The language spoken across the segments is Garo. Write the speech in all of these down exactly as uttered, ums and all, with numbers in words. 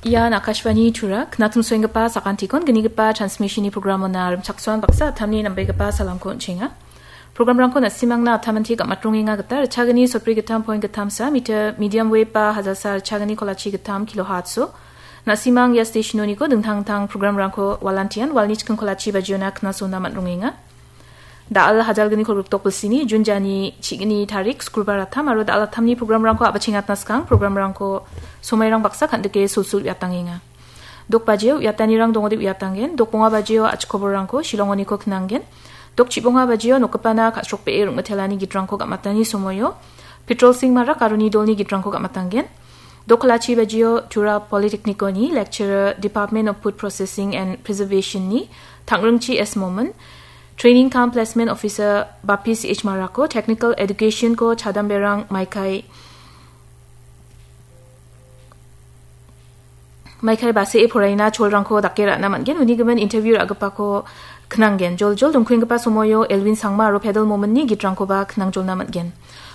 Ian Akashvani Tura, knatungsoenggipa sakantikon gnigipa transmissionni programona rimchaksoan baksa atamni nambegipa salamko on·chenga. Programrangko na·simangna atamanti gam·atrongenga gita ritchagni sotbri gittam point gittamsa meter medium wave ba hajalsa ritchagni kolachi gittam kilohertzso. Na·simang ia stationoniko dingtang dingtang programrangko walantian walni chikking kolachi bajiona knasona man·rongenga. Da·al hajalgni kolgrikdok bilsini Jun jani chigni tarik skulbar atam aro da·al atamni programrangko a·bachengatna skang programrangko somairang baksa kan·dike sulsul uiatangenga. Dok bajio uiatanirang dongode uiatanggen, dok bonga bajio achikoborrangko Shillongoniko knanggen, dok chibonga bajio nokgipana ka·srokbee rong·mitelani gitrangko gam·atani somoio, Petrol Singh Marak aro nidolni gitrangko gam·atanggen, dok kolachi bajio Tura Polytechniconi lecturer Department of Food Processing and Preservationni Tangringchi S Momin, Training cum Placement Officer Bapis H Marako, Technical Educationko chadamberang maikai maikai base·e poraina cholrangko dake ra·na man·gen, uni gimin interview ra·gipako knanggen. Joljol dongkuenggipa somoio Elwin Sangma aro Pedal Mominni gitrangkoba knangjolna man·gen.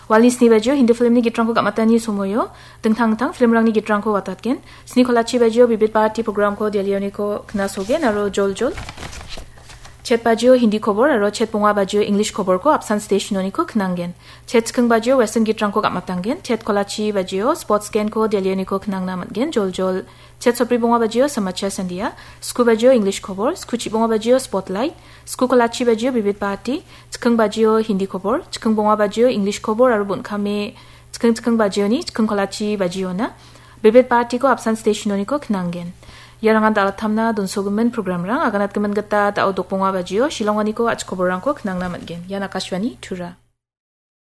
Walni sni bajio Hindi filmni gitrangko gam·atani somoio dingtang dingtang filmrangni gitrangko watatgen. Sni kolachi bajio Bibit Bharati programko Delhioniko knasogen aro joljol chet bajio Hindi kobor aro chet bonga bajio English koborko apsan stationoniko knanggen. Chet chikking bajio Western gitrangko gam·atanggen. Chet kolachi bajio Sports Genko Delhioniko knangna man·gen. Joljol chet sotbri bonga bajio Samachar Sandia, sku bajio English kobor, sku chibonga bajio Spotlight, sku kolachi bajio Bibit Bharati, chikking bajio Hindi kobor, chikking bonga bajio English kobor aro bon·kame chikking chikking bajioni chikking kolachi bajiona Bibit Bharatiko apsan stationoniko knanggen. Iarangan da·al atamna donsogimin programrang, aganatgimin gita da·o dok bonga bajio Shillongoniko achikoborrangko knangna man·gen. Ian Akashvani Tura.